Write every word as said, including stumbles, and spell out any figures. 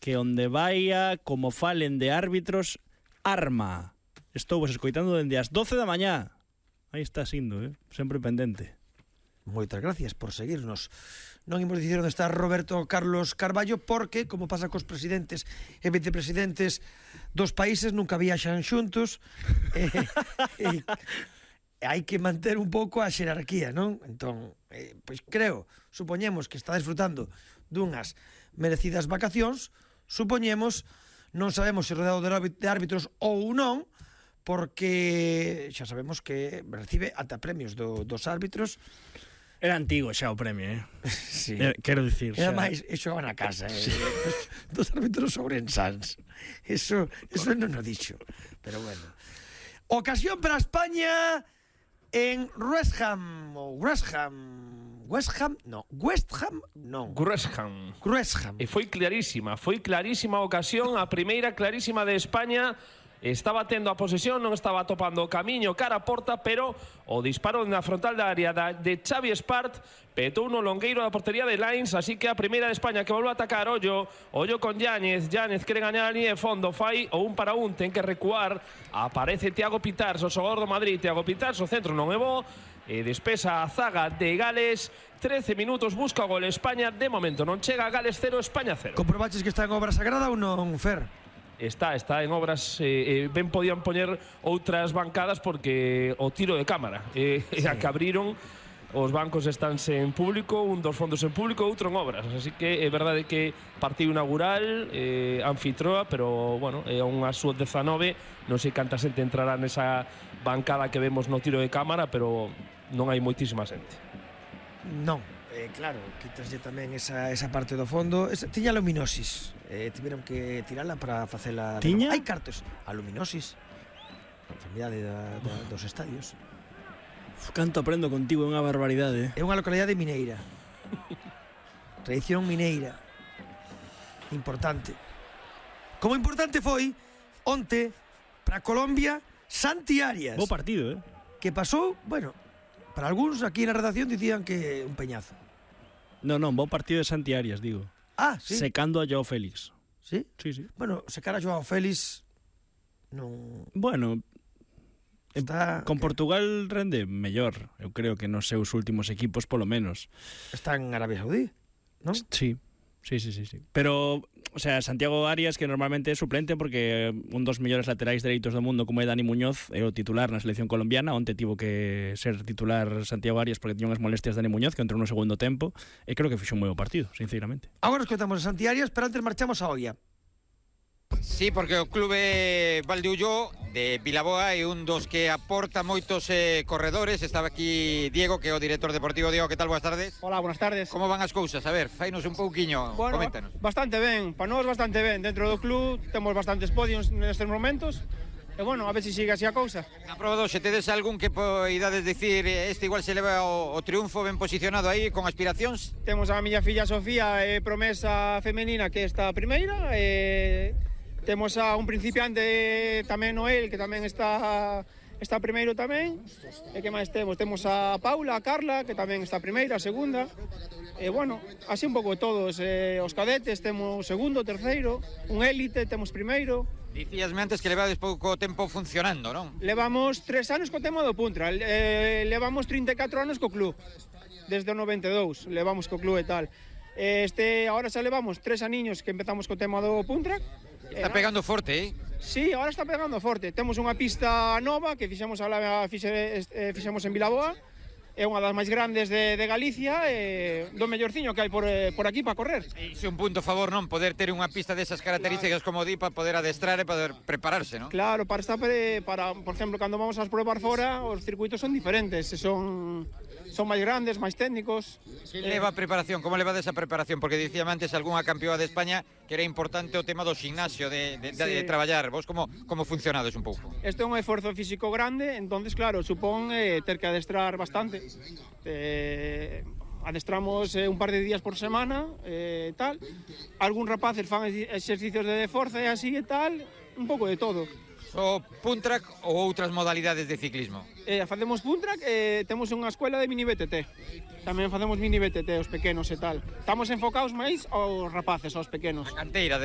que onde vaia, como falen de árbitros, arma. Estou vos escoitando dende as doce da mañá. Aí está sindo, eh? Sempre pendente. Moitas gracias por seguirnos. Non imos dicir onde está Roberto Carlos Carballo porque, como pasa cos presidentes e vicepresidentes dos países, nunca viaxan xuntos. e, e, hai que manter un pouco a xerarquía, non? Entón, eh, pois creo, supoñemos que está disfrutando dunhas merecidas vacacións, supoñemos, non sabemos se rodeado de árbitros ou non, porque xa sabemos que recibe ata premios do, dos árbitros. Era antigo xa o premio, eh? Sí. Era, quero dicir, Era xa... máis, e xogaba na casa, eh? Sí. Dos árbitros ourensans. Eso, eso non o dixo. Pero bueno. Ocasión para España en West Ham, ou West Ham... West Ham, no, West Ham, non. West Ham. West Ham. E foi clarísima, foi clarísima a ocasión, a primeira clarísima de España. Estaba tendo a posesión, non estaba topando o camiño cara a porta, pero o disparo na frontal da área da, de Xavi Espart petou no longueiro da portería de Lines, así que a primeira de España que volve a atacar. Ollo, ollo con Yáñez, Yáñez quere gañar a línea de fondo, fai o un para un, ten que recuar, aparece Thiago Pitars, o xogador do Madrid. Thiago Pitars, o centro non é bo, e despesa a zaga de Gales. Trece minutos, busca o gol España. De momento non chega, Gales cero, España cero. Comprobaches que está en obra sagrada ou non, Fer? Está, está en obras. eh, eh, Ben podían poñer outras bancadas porque o tiro de cámara, eh, sí. A que abriron, os bancos estánse en público, un dos fondos en público, outro en obras, así que é verdade que partido inaugural, eh, anfitroa, pero bueno, é unha súa dezanove, non sei canta xente entrará nesa bancada que vemos no tiro de cámara, pero non hai moitísima xente. Non, eh, claro, quitaslle tamén esa, esa parte do fondo. Esa, tiña luminosis, eh, tiveron que tirala para facela. Tiña? Hai cartos, a luminosis, a enfermidade da, da, dos estadios. Uf, canto aprendo contigo, é unha barbaridade. É unha localidade mineira. Tradición mineira. Importante. Como importante foi onte para Colombia Santi Arias. Bo partido, eh? Que pasou, bueno, para algúns aquí na redacción dicían que un peñazo. Non, non, bo partido de Santi Arias, digo. Ah, sí. Secando a Joao Félix. Sí? Sí, sí. Bueno, secar a Joao Félix non... Bueno, Está... con Portugal rende mellor, eu creo que nos seus últimos equipos polo menos. Está en Arabia Saudí, non? Sí, sí, sí, sí, sí. Pero, o sea, Santiago Arias, que normalmente é suplente porque un dos mellores laterais dereitos do mundo como é Dani Muñoz, é o titular na selección colombiana. Onte tivo que ser titular Santiago Arias porque tiña unhas molestias Dani Muñoz, que entrou no segundo tempo, e creo que fixo un moi bo partido, sinceramente. Agora escoitamos a Santi Arias, pero antes marchamos a Oia. Sí, porque o clube Valdeullo de Vilaboa é un dos que aporta moitos eh, corredores. Estaba aquí Diego, que é o director deportivo. Diego, que tal? Boas tardes. Hola, buenas tardes. Como van as cousas? A ver, fainos un pouquiño, bueno, coméntanos. Bastante ben, para nós bastante ben. Dentro do club temos bastantes podiums nestes momentos. E bueno, a ver se si sigue así a cousa. Na proba dos, se tedes algún que poidades dicir este igual se leva o, o triunfo ben posicionado aí, con aspiracións? Temos a miña filla Sofía, eh, promesa femenina, que está a primeira. Eh, temos a un principiante tamén, Noel, que tamén está está primeiro tamén. E que máis temos? Temos a Paula, a Carla, que tamén está primeira, a segunda. E bueno, así un pouco todos. Eh, os cadetes temos segundo, terceiro. Un élite temos primeiro. Dicíasme antes que levades pouco tempo funcionando, non? Levamos tres anos co tema do Puntra. Eh, levamos trinta e catro anos co club. Desde o noventa e dous levamos co club e tal. Este, ahora xa levamos tres aniños que empezamos co tema do Puntra. Está pegando forte, eh? Sí, ahora está pegando forte. Temos unha pista nova que fixemos, a, fixe, eh, fixemos en Vilaboa. É unha das máis grandes de, de Galicia e do mellorciño que hai por, eh, por aquí para correr. Iso é un punto a favor, non? Poder ter unha pista desas características, claro, como di, para poder adestrar e poder prepararse, non? Claro, para estar para, por exemplo, cando vamos a probar fora, os circuitos son diferentes, son son máis grandes, máis técnicos. Que leva a preparación? Como leva desa preparación? Porque dicíame antes algunha campeoa de España que era importante o tema do gimnasio, de, de, de, sí. de traballar. Vos como, como funcionades un pouco? Este é un esforzo físico grande, entonces claro, supón eh, ter que adestrar bastante. Eh, adestramos eh, un par de días por semana, eh, tal. Algún rapaces fan exercicios de forza e así e tal, un pouco de todo. O puntrack ou outras modalidades de ciclismo? Eh, facemos puntrack e eh, temos unha escuela de mini B T T. Tamén facemos mini B T T, os pequenos e tal. Estamos enfocados máis aos rapaces, aos pequenos. A canteira de